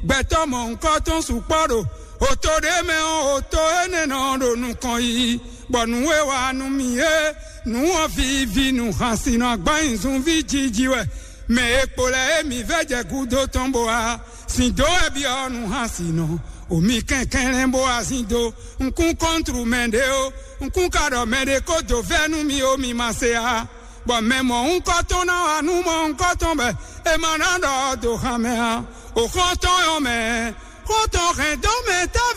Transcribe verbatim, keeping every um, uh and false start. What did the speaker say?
Gbɛtɔ́ mɔ̌hunkɔtɔn sukpɔ́ ɖo oto ɖé mɛ ɔ́, oto énɛ́ nɔ ɖo nukɔn yiyi, bɔ nǔ e wa nú mì é, nǔ ɔ́ vivi nǔ xasin nɔ agbán nyi zunví jiji wɛ. Mɛ e kpo lɛ́ɛ e mǐ vɛ́ jɛ gúdo tɔn bó wá sin dó wɛ byɔ́ nǔ xasin nɔ. Omi kɛnklɛ́n bó wá sin dó nkún kɔntru mɛ ɖé ó, nkún ka ɖɔ mɛ ɖé kó dó vɛ́ nú mì ó, mi ma se a. Bɔ mɛ mɔ̌hunkɔtɔn ná wá nú mɔ̌hunkɔtɔn bɔ è ma ná ɖɔ dó xan mɛ ǎ. Òxɔ́ntɔn ɔ́ mɛ, xɔ́ntɔn hɛn dó mɛ távi.